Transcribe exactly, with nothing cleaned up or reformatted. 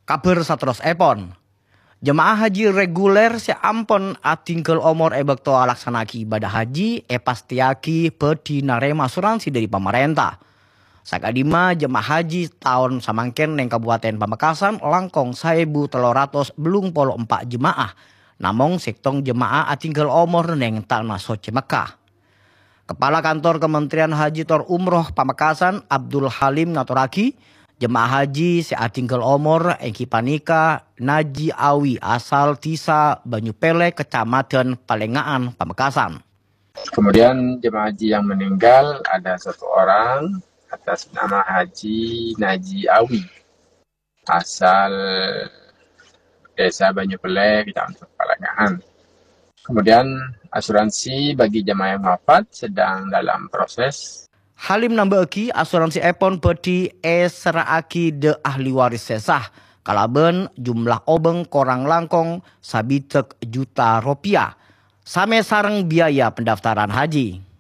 Kabhâr saterrossèpon, jemaah haji reguler sè ampon adhingghâl omor è bâkto alaksana'aghi ibâdâh haji èpastèyaghi bhâdhi narèma asuransi dhâri pamarènta. Sakadhimma jemaah haji taon samangkèn neng Kabupaten Pamekasan langkong saèbu tello ratos bâllung polo empa' jemaah, namong sèttong jemaah adhingghâl omor neng Tana Soccè Mekkah. Kepala Kantor Kementerian Haji tor Umroh Pamekasan, Abdul Halim ngatorraghi, jemaah haji sè adhingghâl omor èngghi panèka Naji Awi asal Dhisa Banyupele, Kecamatan Palenga'an, Pamekasan. Kemudian jemaah haji yang meninggal ada satu orang atas nama Haji Naji Awi, asal Desa Banyupele, Kecamatan Palenga'an. Kemudian asuransi bagi jemaah yang wafat sedang dalam proses. Halim nambâ'aghi, asuransièpon bhâdhi èserra'aghi dhâ' ahli waris sè sah, kalabân jumlah obâng korang langkong sabidhâk juta ropèya, samè sareng biaya pendaftaran haji.